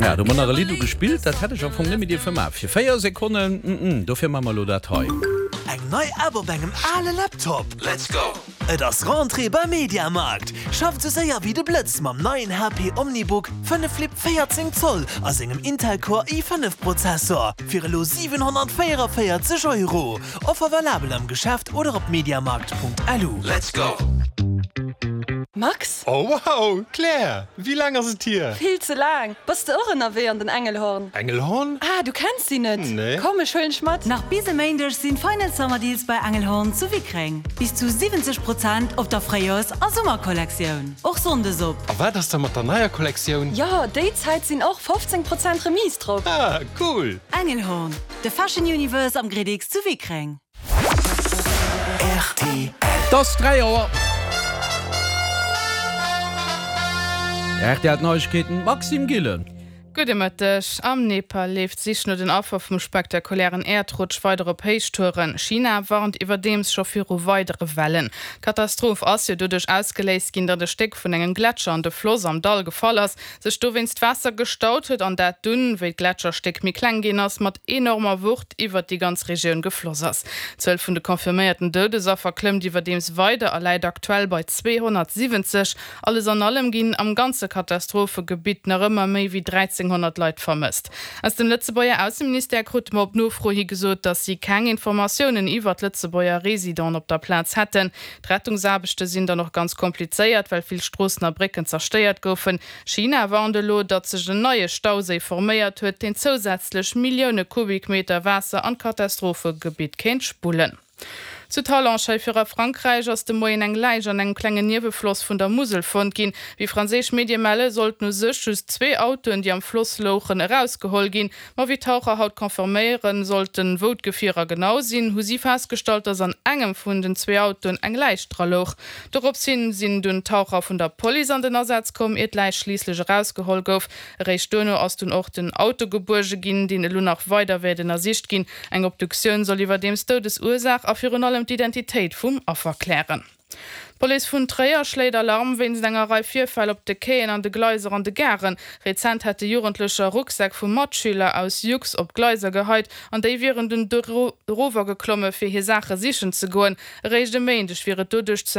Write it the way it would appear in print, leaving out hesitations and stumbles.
Ja, do hu mer nach e Lidd ugespillt, dat hätt ech am Fong net méi dierfe maachen. Fir 4 Sekonnen, mm, dofir maache mer elo dat hei. Eng nei App op engem ale Laptop? Let's go! Et ass Rentrée bei MediaMarkt! Schafft sou séier wéi de Blëtz mam neien HP OmniBook 5 Flip 14 Zoll a sengem Intel Core i5 Prozessor fir elo 744 Euro. Offer valabel am Geschäft oder op mediamarkt.lu. Let's go! Max? Oh wow, Claire, wéi laang ass et hier? Vill ze laang! Bass de och ënnerwee an den Engelhorn? Engelhorn? Ah, du kenns si net? Nee. Komm, ech huelen dech mat! Nach bis e Méindeg sinn Final Summer Deals bei Engelhorn zu Wickreng. Bis zu 70 Prozent op der Fréijoers a Summerkollektioun. Och Sonndes op. A wat ass da mat der neier Kollektioun? Jo, déi Zäit sinn och 15 Prozent Remise drop. Ah, cool! Engelhorn, de Fashion Universe am Gridix zu Wickreng. Rtl. 't ass 3 Auer. Rtl Neiegkeeten, Maxime Gillen. Gudde Mëtteg. Am Nepal leeft d'Sich no den Affer vum spektakulären Äerdrutsch weider op Héichtouren. China warnt iwwerdeems scho viru weidere Wellen. D'Katastroph ass jo doduerch ausgeléist ginn, datt e Stéck vun engem Gletscher an de Floss am Dall gefall ass. sech dowéinst Waasser gestaut huet an dat dunn, wéi d'Gletscherstéck méi kleng ginn ass, mat enormer Wucht iwwert déi ganz Regioun gefloss ass. D'Zuel vun de confirméierten Doudesaffer klëmmt iwwerdeems weider a läit aktuell bei 270. Alles an allem ginn am ganze Katastrophegebitt nach ëmmer méi wéi 1.300 Leit vermësst. Aus dem Lëtzebuerger Ausseministère krute mer op Nofro hi gesot, datt si keng Informatiounen iwwert Lëtzebuerger Residenten op der Plaz hätten. D'Rettungsaarbechte sinn dann och ganz komplizéiert, well vill Stroossen a Brécken zerstéiert goufen. China warnt elo, datt sech en neie Stauséi forméiert huet, deen zousätzlech Millioune Kubikmeter Waasser an d'Katastrophegebitt kéint spullen. Zu Talange hei fir a Frankräich ass de Moien eng Läich an engem klengen Niewefloss vun der Musel fonnt ginn. Wéi franséisch Medie melle sollten u sech just zwee Autoen, déi am Floss louchen, erausgeholl ginn. Ma wéi d'Taucher haut confirméiere sollten, wou d'Gefierer genau sinn, hu si festgestallt, dass an engem vun den zwee Autoen eng Läich dra louch. Dorops hin sinn dunn d'Taucher vun der Police an den Asaz komm, ier d'Läich schliisslech erausgeholl gouf. Eréischt duerno ass dunn och den Auto gebuerge ginn, deen elo nach weider wäert ënnersicht ginn. Eng Obduktioun soll iwwerdeems d'Doudesursaach a virun allem d'Identitéit vum Affer klären. D'Police vun Tréier schléit Alarm wéinst enger Rei Virfäll op de Quaien an de Gleiser an de Garen. Rezent hätte Jugendlecher Rucksäck vu Matschüler aus Jux op d'Gleiser geheit an déi wieren dunn erower geklomme fir hir Saache sichen ze goen. Eréischt e Méindeg wier et doduerch zu.